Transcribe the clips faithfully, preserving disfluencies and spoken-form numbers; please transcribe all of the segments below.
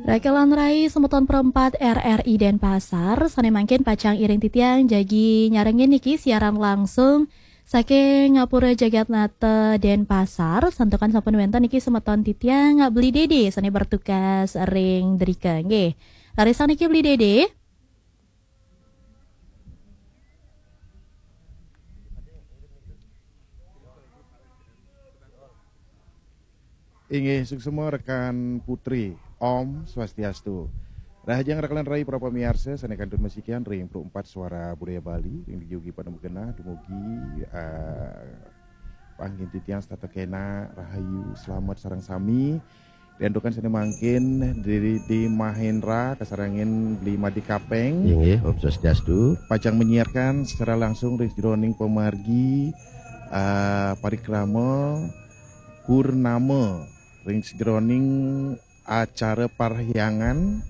Rakelan rai semeton perempat R R I Denpasar, sane mangkin pacang iring titiang jagi nyarengin niki siaran langsung saking Ngapura Jagatnata Denpasar. Santukan sampun wenten niki semeton titiang Beli Dede sane bertugas ring drika nggih. Rarisang niki Beli Dede. Inggih, suksma rekan Putri. Om Swastiastu. Rahajeng rakelan rai para pamiarsa sane kantun masikian ring Pro empat Suara Budaya Bali, ring dija ugi pada magenah dumugi, eh, panghin titiang setata kena rahayu, selamet sareng sami. Riantukan sane mangkin di, di Mahendra kasarengin Beli Made Kapeng. Inggih, Om Swastiastu. Pacang menyiarkan secara langsung ring jeroning pamargi, eh, parikrama purnama ring sajeroning acara parhyangan,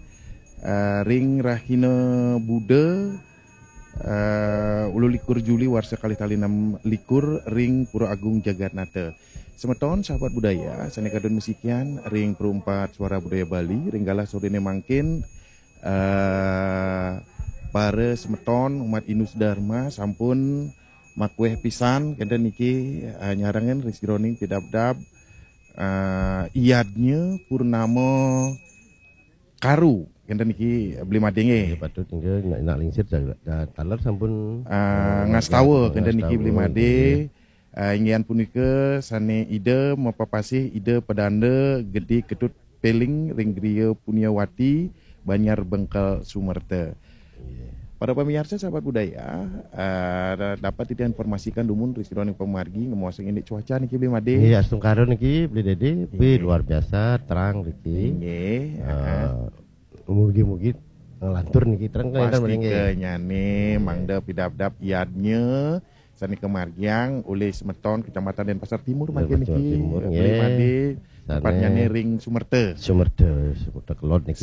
eh, ring rahina Buda, eh, ulu likur Juli warsa kalih tali enam likur ring Pura Agung Jagatnata. Semeton sahabat budaya sane kadun masikian ring Pro empat Suara Budaya Bali, ring galah sorene mangkin, eh, para semeton umat Hindu Dharma sampun makueh pisan kenten niki, eh, nyarengin ring sajeroning pidabdab, eh, Yadnya Purnama Karu kenten niki Beli Made nggih. Nggih, patut nggih, nak, nak lingsir ja-, ja-, taler sampun, eh, eh, ngastawa kenten niki ngastawa, Beli Made. Nggih. Eh, inggih punika sane Ida mapapasih Ida Pedanda Gede Ketut Peling ring Griya Punyawati, Banjar Bengkel, Sumerta. Inggih. Para pamiarsa sahabat budaya, eh, dapat titiang informasikan dumun ring sajeroning pamargi ngamuasang indik cuaca niki Beli Made. Nggih, astungkara niki Beli Dede, pi Inggih. Luar biasa terang niki. Inggih, Eh, aha. Mugi-mugi ngelantur niki terang kan, Intan, nggih. Pastika nyane, Inggih. Mangda pidabdab Yadnya sane kamargiang olih semeton Kecamatan Denpasar Timur mangkin Denpasar niki, Timur, Beli nggih. Made, sane tempatnyane ring Sumerta. Sumerta, Sumerta Kelod niki.